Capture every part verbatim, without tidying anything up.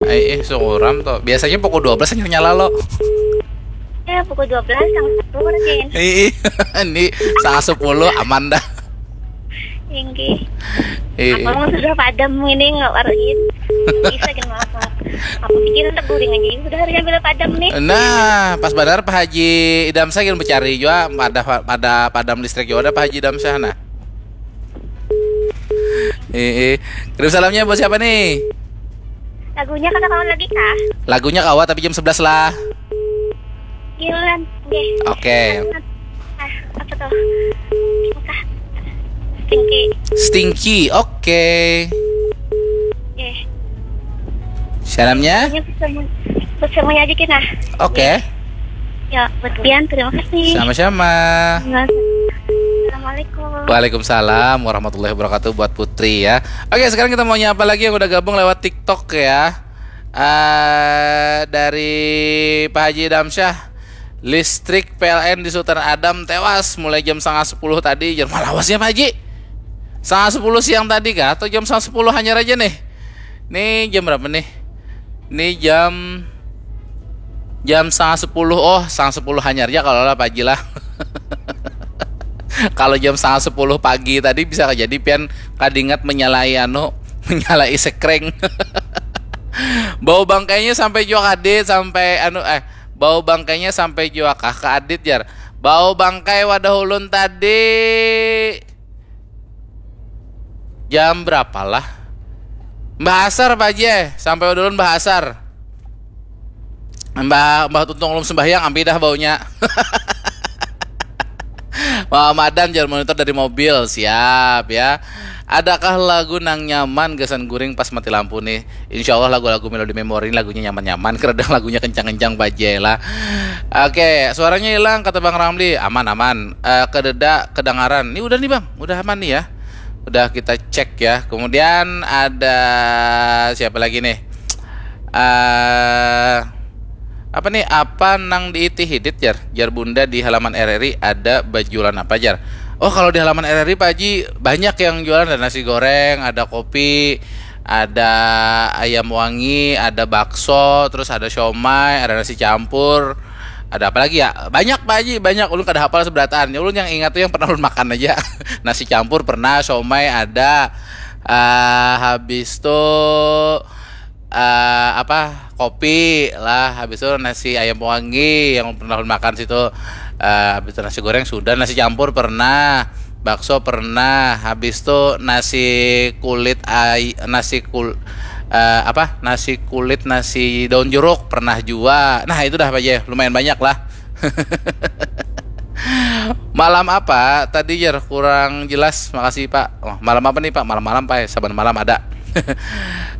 Eh, eh, suram tuh. Biasanya pukul dua belas hanyar nyala lo. Ya, pukul dua belas sama satu mungkin. Ih, ini setengah sepuluh aman dah. Tinggi. Eh, Apa mau sudah padam ini nggak waruin? Bisa kan maaf maaf. Aku pikir untuk guring aja ini sudah harusnya bila padam nih. Nah, pas benar Pak Haji Idam Syah gin mencari juga pada pada padam listrik juga ada Pak Haji Idam Syah nah. Eh, eh. Kirim salamnya buat siapa nih? Lagunya kata kawan lagi kah? Lagunya kawa tapi jam sebelas lah. Giliran. Oke. Oke. Ah, apa tuh? Apa? Stinky. Stinky. Oke. Oke. Salamnya? Ini buat semua, buat semuanya aja kita. Oke. Ya, buat Dian terima kasih. Sama-sama. Assalamualaikum. Waalaikumsalam warahmatullahi wabarakatuh buat Putri ya. Oke, sekarang kita mau nyapa lagi yang udah gabung lewat TikTok ya. Eh dari Pak Haji Damsyah, listrik P L N di Sultan Adam tewas mulai jam setengah sepuluh tadi. Jam malawasnya Pak Haji. Setengah sepuluh siang tadi kah? Atau jam setengah sepuluh hanyar aja nih? Nih jam berapa nih? Nih jam jam setengah sepuluh. Oh, setengah sepuluh hanyar ya kalau lah Pak Haji lah. Kalau jam setengah sepuluh pagi tadi bisa jadi pian kadingat menyalai anu, menyalai sekreng. Bau bangkainya sampai jua kadit sampai anu eh bau bangkainya sampai jua kah ke adit jar. Bau bangkai wadah ulun tadi jam berapa lah? Mbah Asar Pak Haji eh. Sampai wadah ulun Mbah Asar. Mbah Mbah Tuntung ulun sembahyang ampi dah baunya. Mamadan jar monitor dari mobil. Siap ya. Adakah lagu nang nyaman gasan guring pas mati lampu nih? Insya Allah lagu-lagu melodi memori ini lagunya nyaman-nyaman. Kadang lagunya kencang-kencang Pak Haji lah. Oke, suaranya hilang kata Bang Ramli. Aman aman. Eh, kededa kedengaran. Ini udah nih Bang, udah aman nih ya. Udah kita cek ya. Kemudian ada siapa lagi nih? Eh apa nih apa nang diiti hidit jar jar bunda di halaman R R I ada bajualan apa jar. Oh kalau di halaman R R I Pak Haji banyak yang jualan, ada nasi goreng, ada kopi, ada ayam wangi, ada bakso, terus ada siomay, ada nasi campur, ada apa lagi ya? Banyak Pak Haji, banyak. Ulun kada hafal seberataan. Ulun yang ingat tuh yang pernah ulun makan aja. Nasi campur pernah, siomay ada. Ah, habis tuh eh apa kopi lah, habis itu nasi ayam wangi yang pernah ulun makan situ. Eh habis itu nasi goreng sudah, nasi campur pernah, bakso pernah, habis itu nasi kulit ay nasi kul eh, apa nasi kulit nasi daun jeruk pernah jua. Nah itu dah Pak Haji, lumayan banyak lah. Malam apa tadi jar kurang jelas, makasih Pak. Oh, malam apa nih Pak? Malam-malam Pak ya, saban malam ada.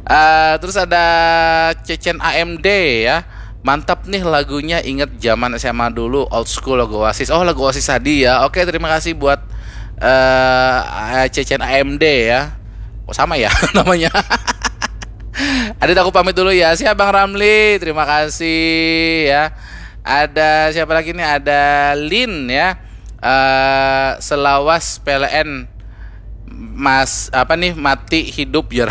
Eh, terus ada Cecen A M D ya. Mantap nih lagunya, inget zaman S M A dulu, old school lagu Oasis. Oh lagu Oasis tadi ya. Oke terima kasih buat eh Cecen A M D ya. Oh sama ya namanya. Adit aku pamit dulu ya. Siap Bang Ramli, terima kasih ya. Ada siapa lagi nih? Ada Lin ya. Eh selawas P L N mas apa nih mati hidup jar.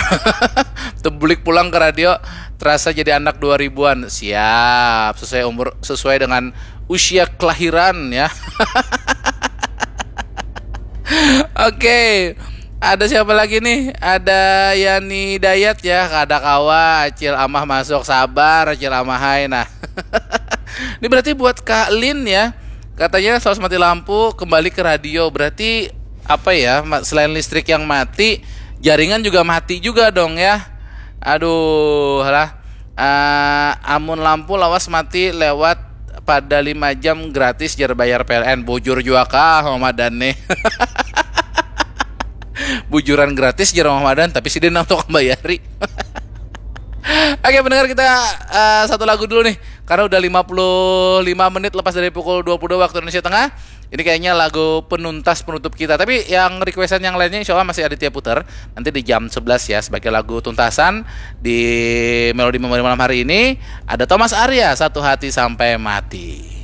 Tebulik pulang ke radio terasa jadi anak dua ribuan. Siap, sesuai umur sesuai dengan usia kelahiran ya. Oke. Ada siapa lagi nih? Ada Yani Dayat ya, kada kawa Acil Amah masuk, sabar Acil Amah hai. Nah. Ini berarti buat Kak Lin ya. Katanya selawas mati lampu kembali ke radio. Berarti apa ya? Selain listrik yang mati, jaringan juga mati juga dong ya. Aduh lah. Uh, amun lampu lawas mati lewat pada lima jam gratis jar bayar P L N. Bujur juga kah Mama Dan nih. Bujuran gratis jar Mama Dan tapi sidin nang tukang bayari. Oke pendengar kita uh, satu lagu dulu nih. Karena udah lima puluh lima menit lepas dari pukul dua puluh dua waktu Indonesia Tengah. Ini kayaknya lagu penuntas penutup kita. Tapi yang requestan yang lainnya insya Allah masih Aditya putar. Nanti di jam sebelas ya sebagai lagu tuntasan di Melodi Memori malam hari ini. Ada Thomas Arya, Satu Hati Sampai Mati.